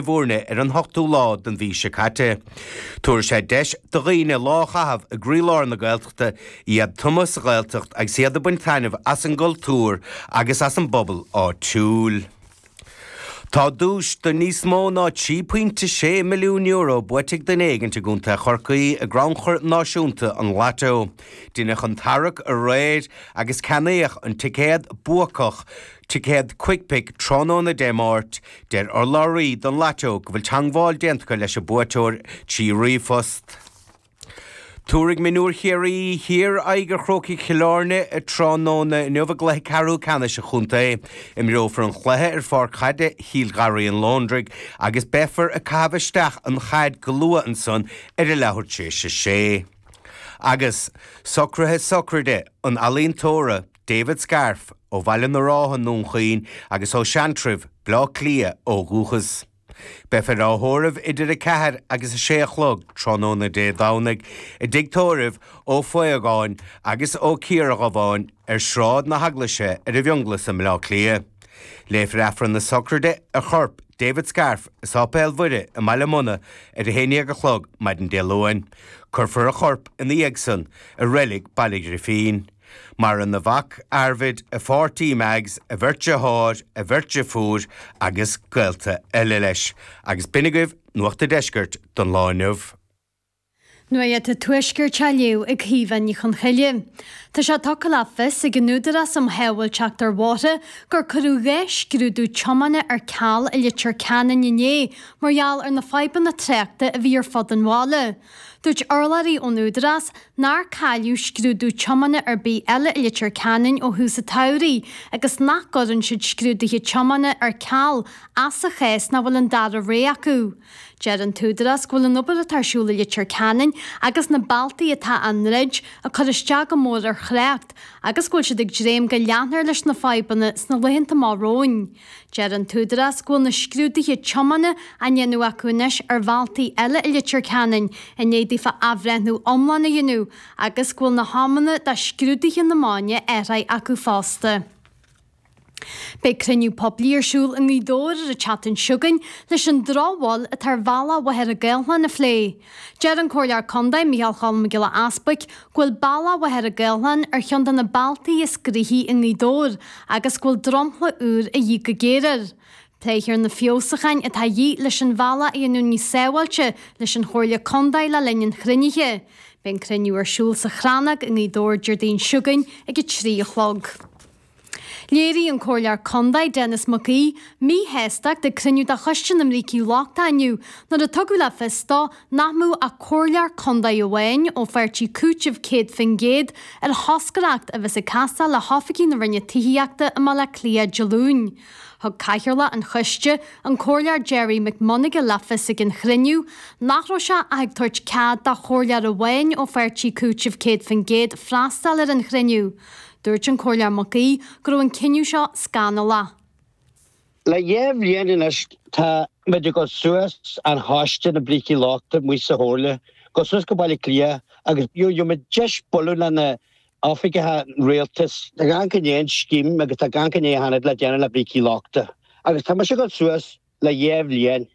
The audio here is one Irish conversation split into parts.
Bhúirne ar an ochtú lá den mhí seo caite. Tabharfaidh sé deis do dhaoine lá a chaitheamh i gcroílár na Gaeltachta, iad tumtha sa Ghaeltacht agus iad ag baint taitneamh as an gcultúr agus as an bpobal áitiúil. Tá duais de níos mó ná €3.6 milliún buaite ag duine éigint i gContae Chorcaí i gCrannchur Náisiúnta an Lató. Deineadh an tarrac aréir agus ceannaíodh an ticéad buacach, ticéad Quickpick, tráthnóna Dé Máirt. Deir urlabhraí don Lató go bhfuil teangmháil déanta acu leis an buaiteoir trí ríomhphost. Tabharfaidh mionúir Chiarraí Thiar aghaidh ar Chrócaigh Chill Airne tráthnóna inniu i gcluiche ceathrú ceannais an chontae. Imreofar an cluiche ar pháirc chaide Chill Gharraí an Lóndraigh agus beifear ag caitheamh isteach an chaid go luath ansan ar a leathuair tar éis a sé. Agus socruithe sochraide an ealaíontóra David Scarfe ó Bhaile na Rátha i nDún Chaoin agus ó Seantrabh, Bleá Cliath ó dhúchas. Beifear á thórramh idir 4 agus 6 a chlog tráthnóna Dé Domhnaigh i dtigh tórraimh Ó Faogáin agus Ó Ciardhubháin ar Shráid na hEaglaise ar an bhFionnghlas i mBleá Cliath. Léifear Aifreann na sochraide ar chorp David Scarfe i Sáipéal Mhuire i mBaile Munna ar a haon dhéag a chlog maidin Dé Luain. Cuirfear a chorp ina dhiaidh san i reilig Baile Ghrífín. Maireann a mhac, Arvid, a pháirtí Mags, a bheirt deartháir, a bheirt deirfiúr agus gaolta eile leis. Agus b'in agaibh Nuacht a' Deiscirt don lá inniu. Nuacht an Tuaiscirt á léamh ag Caoimhe Ní Chonchoille. Tá sé tugtha le fios ag an Údarás um Shábháilteacht ar Bhóithre gur cuireadh 2 scrúdú tiomána ar ceal i Leitir Ceanainn inné mar gheall ar na fadhbanna tráchta a bhí ar fud an bhaile. Dúirt urlabhraí ón Údarás nár cailleadh scrúdú tiomána ar bith eile i Leitir Ceanainn ó thús an tsamhraidh agus nach gcuireann siad scrúduithe tiomána ar ceal ach sa chás nach bhfuil an dara rogha acu. Deir an tÚdarás go bhfuil an obair atá ar siúl i Leitir Ceanainn agus na bealtaí atá á ndruid ag cur isteach go mór ar thrácht agus go bhfuil siad ag dréim go leanfar leis na fadhbanna sna laethanta amach romhainn. Deir an tÚdarás go bhfuil na scrúduithe tiomána á ndéanamh acu anois ar bhealtaí eile i Leitir Ceanainn i ndiaidh daofa athbhreithniú iomlán a dhéanamh agus go bhfuil na hamanna do scrúduithe na maidne athraithe acu fosta. Beidh cruinniú poiblí ar siúl i nGaoth Dobhair ar an tseachtain seo chugainn leis an drochbhail atá ar bhealach Mhachaire Gathlán a phlé. Deir an Comhairleoir Contae, Micheál Cholm Mac Giolla Easbuic, go bhfuil bealach Mhachaire Gathlán ar cheann de na bealtaí is gnoithí i nGaoth Dobhair agus go bhfuil dromchla úr a dhíth go géar air. Pléifear na feabhsúcháin atá a dhíth leis an bhealach a dhéanamh níos sábháilte leis an Chomhairle Contae le linn an chruinnithe. Beidh an cruinniú ar siúl sa Chrannóg i nGaoth Dobhair Déardaoin seo chugainn ag 3 a chlog. Léirigh an Comhairleoir Contae Denis Mac Aoidh míshástacht ag cruinniú de Choiste na mBrící Lochtacha inniu nuair a tugadh le fios dó nach mbeadh ach Comhairleoir Contae amháin ó pháirtí Cúiteamh 100% ar thoscaireacht a bheas ag castáil le hoifigí na Roinne Tithíochta i mBaile Átha Cliath Dé Luain. Thug Cathaoirleach an choiste, an Comhairleoir Gerry McMonagall le fios ag an chruinniú nach raibh sé ach ag tabhairt cead do chomhairleoir amháin ó pháirtí Cúiteamh 100% freastal ar an chruinniú. Dúirt an Comhairleoir Mac Aoidh go raibh an cinneadh seo scannalach. Le dhá bhliain anois tá muid ag dul suas an choiste na brící lochta amuigh sa Chomhairle, dul suas go Baile Átha Cliath agus gheobhaidh muid deis bualadh le na oifigithe rialtais. Tá gan go ndéan scéim agus tá gan go ndéan le déanamh le brící lochta agus tá mise ag dul suas le dhá bhliain.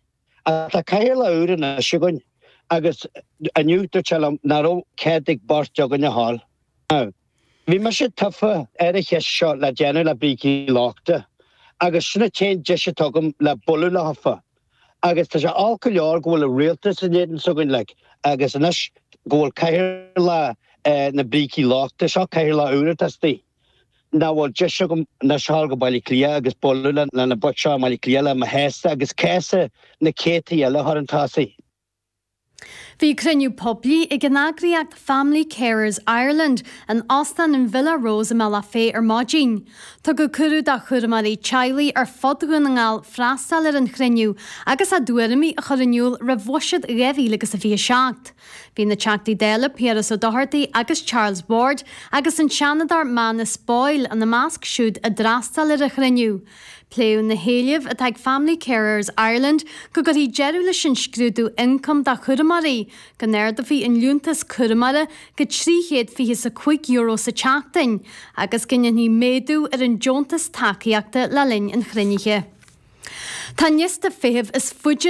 Ach tá cathaoirleach úr anois againn agus inniu dúirt sé liom nach raibh cead ag beirt againn a ghabháil. Now, bhí mise tofa ar an cheist seo le déanamh le brící lochta agus sin an t-aon deis atá agam le bualadh leofa. Agus tá sé olc go leor go bhfuil an rialtas in éadan s'againn like agus anois go bhfuil cathaoirleach na brící lochta, seo cathaoirleach úr atá istigh. nach bhfuil deis agam anois a ghabháil go Baile Átha Cliath agus bualadh le na boic seo i mBaile Átha Cliath le mo chéasta agus céasadh na céadtaí eile a chur chun tosaigh. Bhí cruinniú poiblí ag an eagraíocht Family Carers Ireland in Óstán an Villa Rose i mBealach Féich ar maidin. Tugadh cuireadh do chúramóirí teaghlaigh ar fud Dhún na nGall freastal ar an chruinniú agus a dtuairimí a chur in iúl roimh Bhuiséad 2027. Bhí na Teachtaí Dála Piaras Ó Dochartaigh agus Charles Ward agus an Seanadóir Manus Boyle ina measc siúd a d'fhreastail ar an chruinniú. Pléadh na héilimh atá ag Family Carers Ireland go gcuirfí deireadh leis an scrúdú ioncaim do chúramóirí, go n-ardófaí an liúntas cúramóra go €325 sa tseachtain agus go ndéanfaí méadú ar an deontas tacaíochta le linn an chruinnithe. Tá an liosta feithimh is faide.